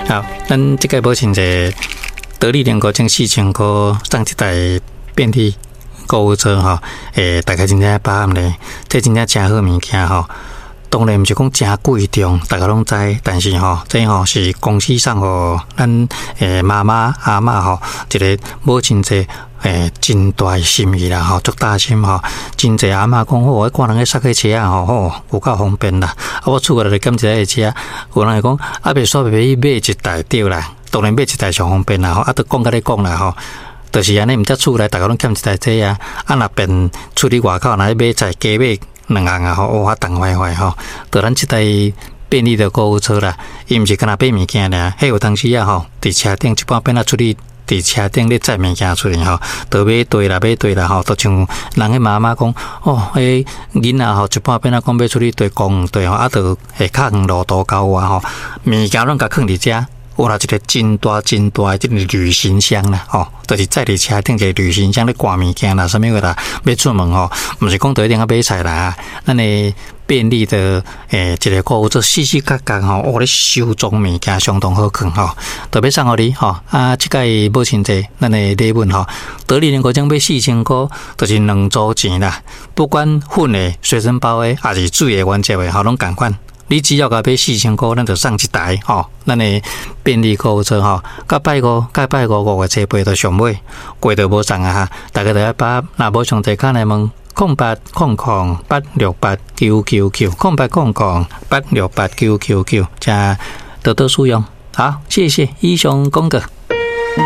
好，咱這個母親節，得力能夠將4000箍送一台便利購物車吼，大家真正把握咧，這真正誠好物件吼。當然毋是講誠貴重，大家攏知，但是吼，這吼是公司送予咱媽媽阿嬤吼一個母親節真大的心意啦吼，足大心吼。真濟阿嬤講，我看人咧塞個車仔吼，吼有夠方便啦。啊，我厝內就減一個車，有人會講，啊，袂煞袂去買一台對啦。當然買一台上方便啦吼，啊，都講甲你講啦吼。就是按呢，毋才厝內逐家攏欠一台車啊，啊，若變出去外口，若去買菜，加買兩項啊吼，哇，重壞壞吼。就咱這台便利的購物車啦，伊毋是干焦買物件爾，彼有當時啊吼，佇車頂一半變啊出去，佇車頂咧載物件出去吼，就買對啦，買對啦吼，就像人彼媽媽講，哦，彼囡仔吼，一半變啊講欲出去綴公園綴吼，啊，就會較遠路途郊外吼，物件攏共囥佇遮。有啦，一個真大真大的這個旅行箱啦，吼，就是載佇車頂一個旅行箱咧掛物件啦，啥物貨啦，欲出門吼，毋是講就一定愛買菜啦，咱的便利的一個購物車四四角角吼，哦，咧收裝物件相當好囥吼，特別送予你吼，啊，這擺母親節咱的禮物吼，得力能夠獎買4000箍，就是兩組錢啦，不管粉的、隨身包的，抑是水的、原則的，吼，攏仝款。你只要共買四千箍，咱就送一台吼，咱的便利購物車吼，到拜五，到拜五5月初八就上尾，過就無送啊哈！大家就愛把若無上濟卡來問0800868999，0800868999，請多多使用。好，謝謝，以上廣告。